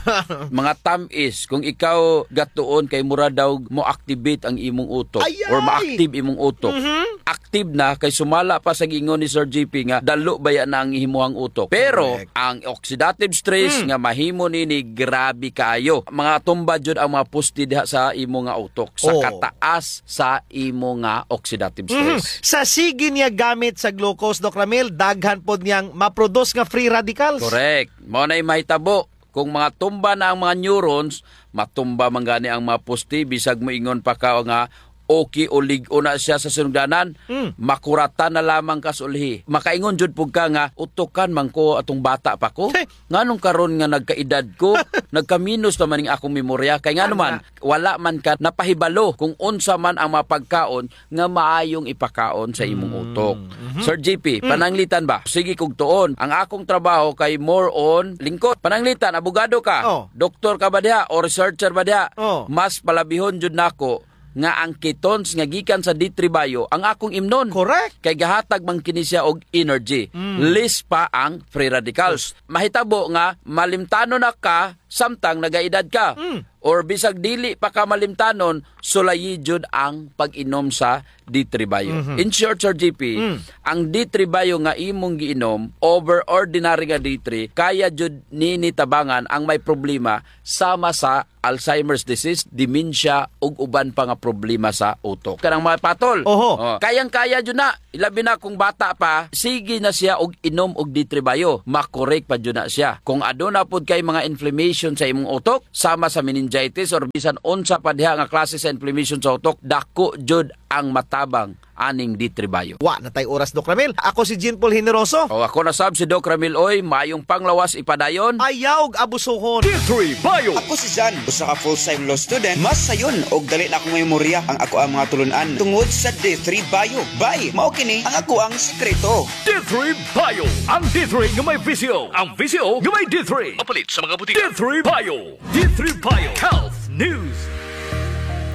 Mga tam-is, kung ikaw gatuon kay mura daw mo-activate ang imong utok Ay, or ay! ma-active imong utok. Mhm. Active na kay sumala pa sa giingon ni Sir G P nga dalo baya na ang imuhang utok. Pero Correct. ang oxidative stress Hmm. nga mahimo nini grabe kaayo. Mga tumba jud ang mga poste diha sa imo nga utok sa Oo. kataas sa imo nga oxidative Mhm. stress. Sa sige niya gamit sa glucose, Doc Ramil, daghan pod niyang ma-produce nga free radicals. Correct. Mao na'y mahitabo. Kung mga tumba na ang mga neurons, matumba man gani ang mga poste, bisag moingon pa ka nga okay o lig-on na siya sa sinugdanan, Hmm. makuratan na lamang ka sa ulhi. Makaingon jud pud ka nga, "Utukan man ko atong bata pa ko. Heh. Nganong karon nga nagkaedad ko, nagkaminos naman ning akong memorya." Kay ngano man, Tama. wala man ka napahibalo kung unsa man ang mga pagkaon nga maayong ipakaon sa imong Mm. utok. Mhm. Sir G P, Mm. pananglitan ba? Sige kog tuon. Ang akong trabaho kay more on lingkod. Pananglitan, abogado ka? Oh. Doktor ka ba diha? O researcher ba diha? Oh. Mas palabihon jud nako nga ang ketones nga gikan sa D three Bio ang akong imnon. Correct. Kay gahatag man kini siya og energy. Mm. Less pa ang free radicals. Mahitabo nga malimtanon na ka samtang nagaedad ka. Mm. Or bisag dili pa ka malimtanon, sulayi jud ang pag-inom sa D three Bio. Mhm. In short, Sir G P, Mm. ang D three Bio nga imong giinom, over ordinary nga D three, kaya jud nini tabangan ang may problema sama sa Alzheimer's disease, dementia, ug uban pa nga problema sa utok. Kanang mga patol, Oho. oh, kayang-kaya jud na. Ilabi na kung bata pa, sige na siya og inom og D three Bio. Makorek pa jud na siya. Kung aduna pod kay mga inflammation sa imong utok, sama sa meningitis or bisan unsa pa diha nga klase sa inflammation sa utok, dako jud ang matabang aning D three Bio. Wa na tay oras, Doc Ramil. Ako si Jean Paul Generoso. O, ako na sab si Doc Ramil Oy. Maayong panglawas ipadayon. Ayaw og abusuhon. D three Bio. Ako si Jan, usa ka full-time law student. Mas sayon og dali na akong memorya ang ako ang mga tulun-an tungod sa D three Bio. Bay, mao kini ang ako ang sikreto. D three Bio. Ang D three nga may V C O. Ang V C O nga may D three. Mapalit sa mga butika. D three Bio. D three Bio Health News.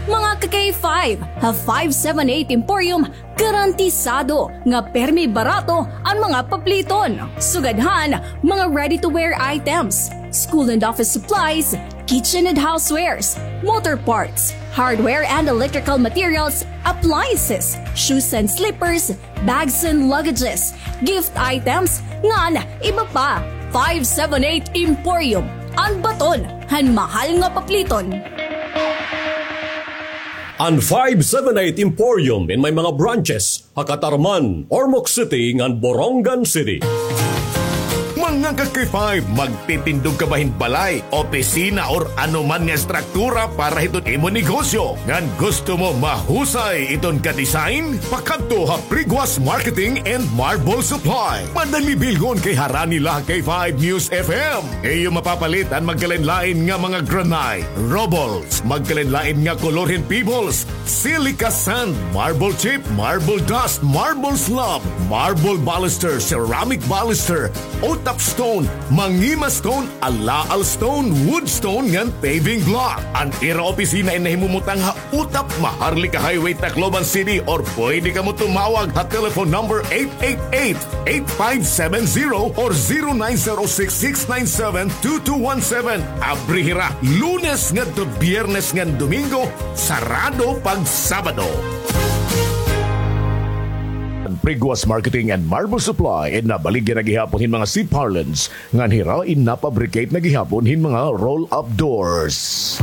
Mga ka-K five, ha five seven eight Emporium, garantisado nga permi barato an mga papliton. Sugad han mga ready-to-wear items, school and office supplies, kitchen and housewares, motor parts, hardware and electrical materials, appliances, shoes and slippers, bags and luggages, gift items, ngan iba pa. Five seven eight Emporium, an baton han mahal nga papliton. An five seven eight Emporium in may mga branches ha Catarman, Ormoc City, ngan Borongan City. Mga Mga ka-K five, magtitindog ka ba hin balay, opisina, or ano man nga estruktura para hiton imo negosyo? Ngan gusto mo mahusay iton ka-design? Pakadto ha Priguas Marketing and Marble Supply. Madali bilngon kay harani la ha K five News F M. Iyo mapapalit an magkalain-lain nga mga granite, rubbles, magkalain-lain nga kolor hin pebbles, silica sand, marble chip, marble dust, marble slab, marble baluster, ceramic baluster, Otap stone, Mangima stone, Alaal stone, wood stone ngan paving block. An ira opisina in nahimumutang ha Otap, Maharlika Highway, Tacloban City, or pwede kamo tumawag ha telephone number eight eight eight, eight five seven zero or zero nine zero six, six nine seven, two two one seven. Abri hira Lunes ngadto Biyernes ngan Domingo, sarado pag Sabado. An Priguas Marketing and Marble Supply in nabaligya na gihapon hin mga C-parlance ngan hira in napabricate na gihapon hin mga roll-up doors.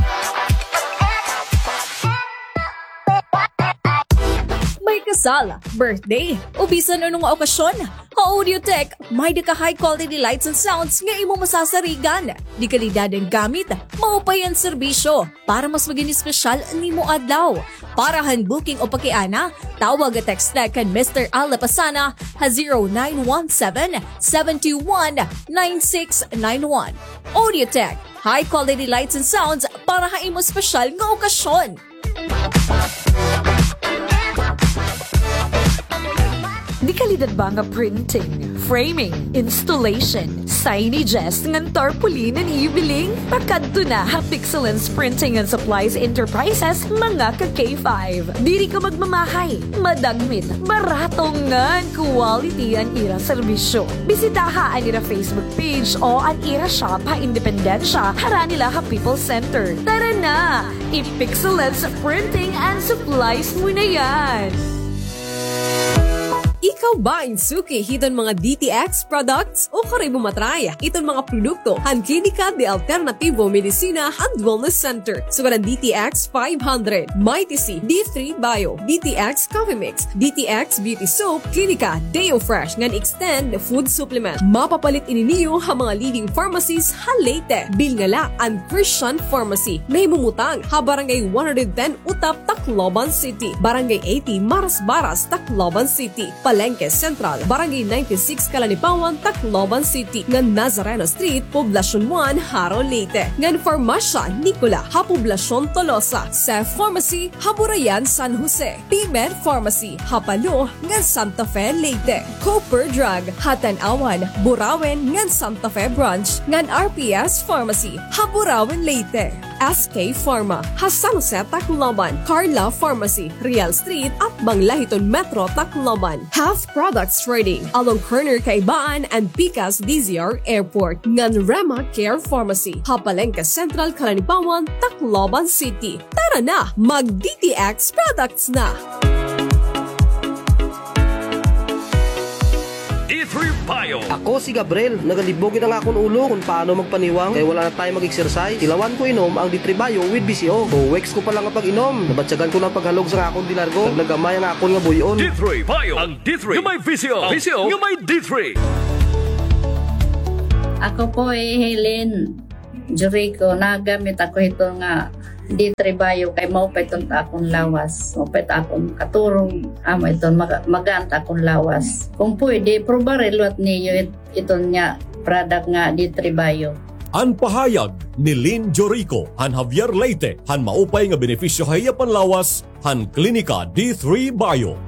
May kasal, birthday, o bisan ano nga okasyon, ha Audiotech, may-ada ka high quality lights and sounds nga imo masasarigan. De kalidad an gamit, maupay an serbisyo. Para mas magin espesyal an imo adlaw. Para han booking o pakiana, tawag o text na kan Mister Al Lapasana ha zero nine one seven, seven two one, nine six nine one. Audiotech, high quality lights and sounds para ha imo espesyal nga okasyon. De kalidad ba nga printing, framing, installation, signages, ngan tarpaulin an iyo biling? Pakadto na ha Pixelens Printing and Supplies Enterprises, mga ka-K five. Diri ka magmamahay, madagmit, barato ngan quality an ira serbisyo. Bisitaha an ira Facebook page o an ira shop ha Independencia, harani la ha People's Center. Tara na! I-Pixelens Printing and Supplies mo na yan! Ikaw ba in suki hiton mga D T X products? Ukon imo ma-try iton mga produkto han Klinika de Alternativo Medicina and Wellness Center. Sugad an D T X five hundred, Mighty C, D three Bio, D T X Coffee Mix, D T X Beauty Soap, Klinika Deo Fresh ngan Extend Food Supplement. Mapapalit ini niyo ha mga leading pharmacies ha Leyte. Bilnga la an Christian Pharmacy, nahimumutang ha Barangay one hundred ten Otap, Tacloban City, Barangay eighty Marasbaras, Tacloban City, Palengke Central, Barangay ninety-six Calanipawan, Tacloban City, ngan Nazareno Street, Poblacion one, Jaro, Leyte, ngan Farmasya Nicola ha Poblacion Tolosa, Cef Pharmacy ha Burayan, San Jose, P-Med Pharmacy ha Palo ngan Santa Fe, Leyte, Cooper Drug ha Tanauan, Burauen ngan Santa Fe Branch, ngan R P S Pharmacy ha Burauen, Leyte, S K Pharma ha San Jose, Tacloban, Carla Pharmacy, Real Street, atbang la hiton Metro Tacloban, Half Products Trading along corner Kaibaan and pikas D Z R Airport, ngan Rema Care Pharmacy ha Palengke Central, Calanipawan, Tacloban City. Tara na, mag-D T X products na! D three Bio. Ako si Gabriel. Nagalibog gud an akon ulo kon paano magpaniwang kay wala na time mag-exercise. Tilawan ko inom ang D three Bio with V C O. Two weeks ko pa lang nga pag-inom, nabatyagan ko na an paghalog sa akon dilargo. Naglagamay ang akon nga buy-on. D three Bio. Ang D three nga may V C O. V C O nga may D three. Ako po hi Helen Jericho, nagamit ako hito nga D three Bio kay maupay iton ta akon lawas. Maupay ta akon katurog, amo iton maga-, magaan ta akon lawas. Kung pwede, probare liwat niyo it-, iton nga product nga D three Bio. An pahayag ni Lynn Jorico han Javier, Leyte, han maupay nga benepisyo ha iya panlawas han Klinika D three Bio.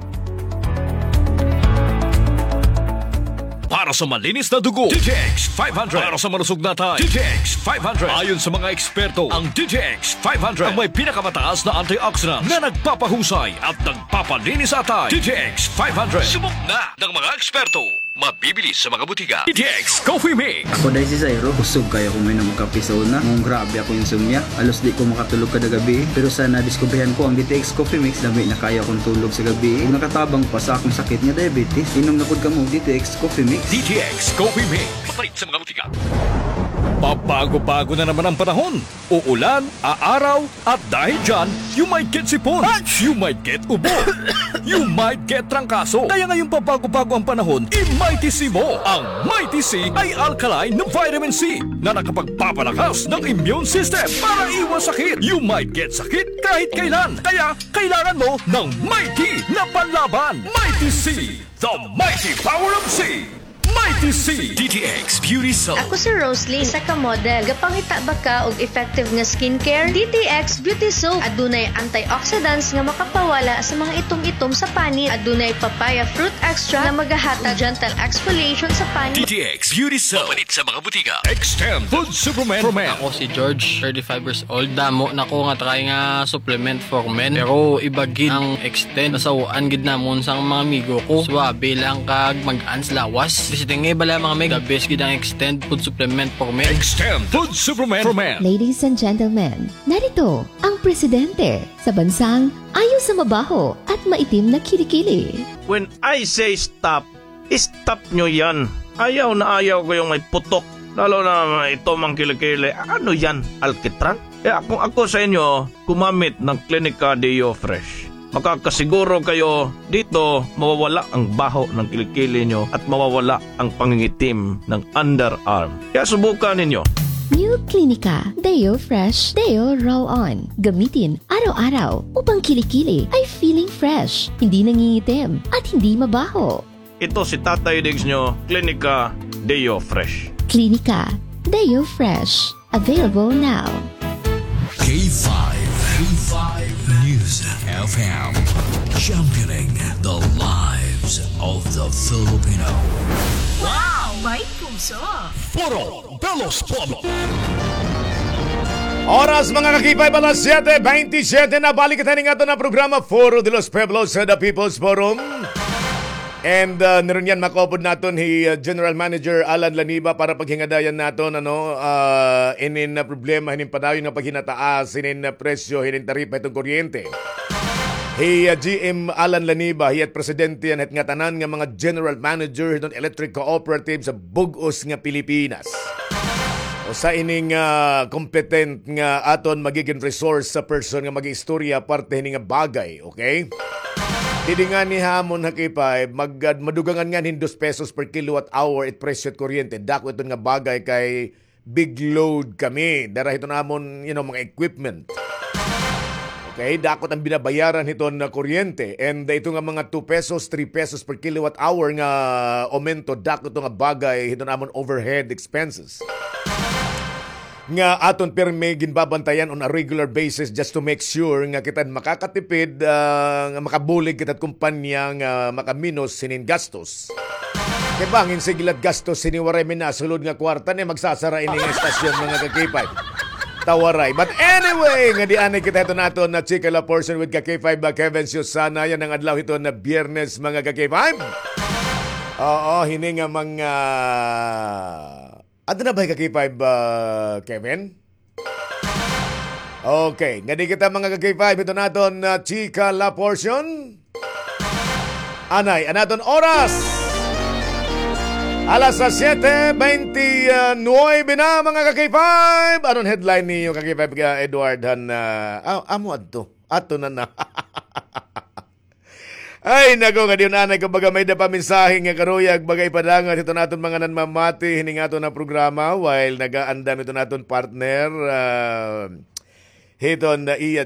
Para sa malinis na dugo, D T X five hundred. Para sa malusog na atay, D T X five hundred. Ayon sa mga eksperto, ang D T X five hundred ang may pinakamataas na antioxidant na nagpapahusay at nagpapalinis sa atay. D T X five hundred. Subok na ng mga eksperto. Mabibili sa mga butika. D T X Coffee Mix. Ako, Daisy Zairo, kusog kaayo ako moinom og kape sa una. Ngan grabe akon insomnia. Halos di ko makatulog kada gabii. Pero sa nadiskubrihan ko ang D T X Coffee Mix, lami na kaayo akon tulog sa gabii. Ug nakatabang pa sa akon sakit nga diabetes. Inom na pod kamo og D T X Coffee Mix. D T X Coffee Mix. Mapalit sa mga butika. Pabago-bago na naman ang panahon. Uulan, aaraw, at dahil dyan, you might get sipon, you might get ubo, you might get trangkaso. Kaya ngayong pabago-bago ang panahon, i-Mighty C mo. Ang Mighty C ay alkaline na vitamin C na nakapagpapalakas ng immune system para iwas sakit. You might get sakit kahit kailan. Kaya kailangan mo ng Mighty na panlaban. Mighty C, the mighty power of C. Mighty C. D T X Beauty Soap. Ako si Rosely, isa ka model. Gapangita ba ka og effective nga skincare? D T X Beauty Soap. Adunay antioxidants nga makapawala sa mga itom-itom sa panit. Adunay papaya fruit extract nga magahatag gentle exfoliation sa panit. D T X Beauty Soap. Mapalit sa mga butika. Extend Food Supplement for Men. Ako si George, thirty-five years old. Damo na ko nga try nga supplement for men. Pero iba gid ang Extend. Nasaw-an gid namon sang mga amigo ko. Suabe lang kag mag-ans lawas. Bisita nga bala mga meg, the best gid ang Extend food supplement for men. Extend Food Supplement for Men. Ladies and gentlemen, narito ang presidente sa bansang ayaw sa mabaho at maitim na kilikili. When I say stop, stop nyo yan. Ayaw na ayaw ko yung may putok. Lalo na may itom ang kilikili. Ano yan? Alkitran? Kaya kung ako sa inyo, gumamit ng Clinica Deo Fresh. Makakasiguro kayo dito mawawala ang baho ng kilikili nyo at mawawala ang pangingitim ng underarm. Kaya subukan ninyo. New Clinica Deo Fresh Deo Roll On. Gamitin araw-araw upang kilikili ay feeling fresh, hindi nangingitim, at hindi mabaho. Ito si Tatay Diggs nyo, Clinica Deo Fresh. Clinica Deo Fresh. Available now. K five, K five News F M, championing the lives of the Filipino. Wow! May puso! Foro de los Pueblos. Oras, mga ka-K five, alas siyete bentisiete na. Balik kita ning aton na programa, Foro de los Pueblos, sa The People's Forum. And, uh, nirunyan makaupod naton hi, uh, General Manager Alan Laniba para paghingadayan naton, ano, uh, inin, uh, problema hinin padayon nga paghinataas hinin, uh, presyo hinin taripa hiton kuryente. Hi, uh, G M Alan Laniba, hiya it presidente han hit ngatanan nga mga general manager hiton electric cooperative sa bug-os nga Pilipinas. Usa ini nga, ah, competent nga aton magigin resource sa person nga mag-iistorya parte hini nga bagay, okay? Didi ngani ha amon ha K five, mag-, ah, madugangan ngani hin dos pesos per kilowatt hour it presyo it kuryente. Dako iton nga bagay kay big load kami. Dara hiton amon, you know, mga equipment. Okay, dako it binabayaran hiton nga kuryente. And ito nga mga two pesos, three pesos per kilowatt hour nga aumento, dako ito nga bagay hiton amon overhead expenses nga aton pirmi ginbabantayan on a regular basis just to make sure nga kita makakatipid, ah, nga makabulig kita kumpanya nga makaminos hinin gastos. Kay bangin sige la it gastos hini waray mi nasulod nga kwarta, ni magsasara ini nga estasyon, mga ka-K five. Ta waray. But anyway, ngadi anay kita hiton aton na chika la portion with ka-K five, ah, Kevin Susana. Yana nga adlaw hiton Biyernes, mga ka-K five. Oo, hini nga mga, adto na ba ka-K five, ah, Kevin? Okay, ngadi kita, mga ka-K five, hiton aton na chika la portion. Anay an aton oras. Alas siyete bente nuebe na, mga ka-K five. Ano an headline niyo, ka-K five, ka Edward, han, ah, ah, amo adto? Ato na na. Ay, nako, ngadi anay ko, baga may-ada pa mensahe nga karuyag, baga ipadangat hiton aton mga nanmamati hini nga aton nga programa, while nagaandam hiton aton partner, ah, hiton, ah, iya